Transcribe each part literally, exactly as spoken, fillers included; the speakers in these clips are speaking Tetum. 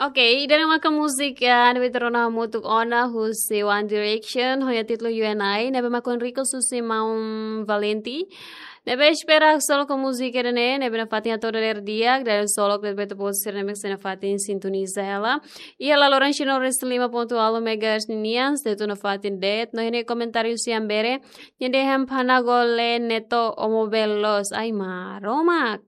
Ok, ida-ne'e maka múzika ne'ebé ita rona hamutuk ona husi One Direction, ho nia títulu You and I, ne'ebé mak request husi maun Valenti. Ne'ebé espera solok múzika ida-ne'e, ne'ebé nafatin atu dadeer di'ak, dadeer solok de'it ba ita-boot sira ne'ebé sei nafatin sintoniza hela. Iha laloran sino res lima pontu ualu megahertz ninian, sei atu nafatin de'it, no iha ne'e komentáriu husi Ambere, nia dehan Panagole Neto Omo Belos, ai Maromak.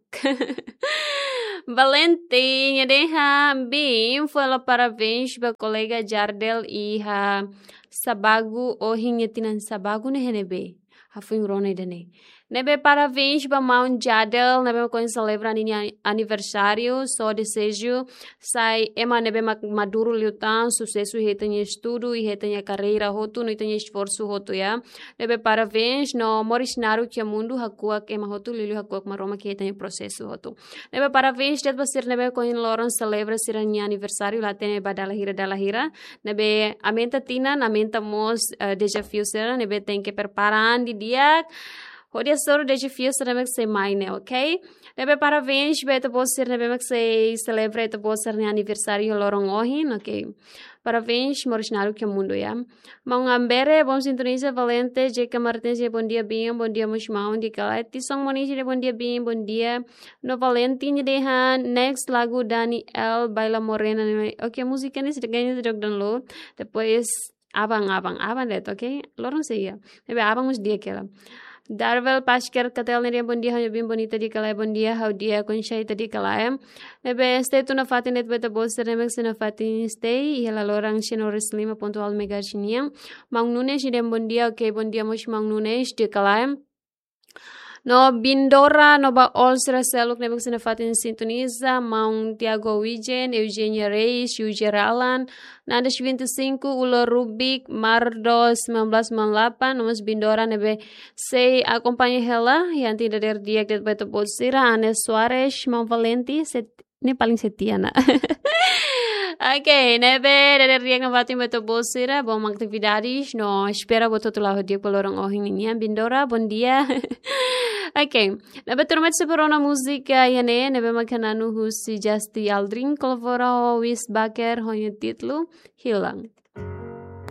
Valenti, nia dehan, bem, fó hela parabéns ba kolega Jardel iha Sabagu, ohin nia tinan Sabagu ne'e iha ne'ebé. Hafoin rona ida-ne'e. Ne'ebé parabéns ba maun Jardel, ne'ebé mak ohin selebra ninia aniversáriu, só dezeju, sai ema ne'ebé mak maduru liután, susesu iha ita-nia estudu, iha ita-nia karreira hotu, no ita-nia esforsu hotu, ya. Ne'ebé parabéns, no moris naruk iha mundu, hakuak ema hotu, liuliu hakuak Maromak iha ita-nia prosesu hotu. Ne'ebé parabéns de'it ba sira ne'ebé mak ohin loron selebra sira-nia aniversáriu, la hatene ba dala hira, dala hira. Ne'ebé aumenta tinan, aumenta mós, eh, dezafiu sira, ne'ebé tenke prepara an didi'ak. Hodi hasoru dezafiu sira ne'ebé sei mai ne'e, ok? Ne'ebé parabéns ba ita-boot sira ne'ebé mak sei selebra ita-boot sira-nia aniversáriu loron ohin, ok? Parabéns, moris naruk iha mundu, ya. Maun Ambere, bom sintoniza, Valenti, J K Martins, bondia, bem, bondia, mós maun, di'ak ka lae, Tison Moniz, bondia, bem, bondia. No Valenti nia dehan, next lagu Daniel, Baila Morena, ne'e. Ok, múzika ne'e sei ganha de download. Depois, aban, aban, aban de'it, ok? Loron sei iha. Ne'ebé aban mós di'ak hela. Darvel Pasker Katel nia dehan, bondia, ha'u bem, bonita, di'ak ka lae, bondia, ha'u di'ak, konsa ita, di'ak ka lae. Ne'ebé stay tune nafatin de'it ba ita-boot sira ne'ebé sei nafatin stay, iha laloran sino res lima pontu ualu megahertz nian. Maun Nunes nia dehan, bondia, ok, bondia mós maun Nunes, di'ak ka lae. No Bindora, no ba all sira seluk ne'ebé sei nafatin sintoniza, maun Tiago Wijen, Eugenia Reis, Yujer Alan, Nandes vinte e cinco, Ulo Rubik, Mardo sembilan belas sembilan delapan, no mós Bindora ne'ebé sei akompaña hela, iha ita-nia dadeer di'ak de'it ba ita-boot sira, Anes Soares, maun Valenti, set-, ne'e paling setia ona. Ok, ne'ebé dadeer di'ak nafatin ba ita-boot sira, bom atividades, no espera ba ita hotu la'o di'ak ba loron ohin ninian, Bindora, bondia. Ok, ne'ebé turma sira, prepara ona múzika iha ne'e, ne'ebé mak hananu husi Justy Aldrin, kolabora ho Wis Baker, ho nia títulu, Hilang.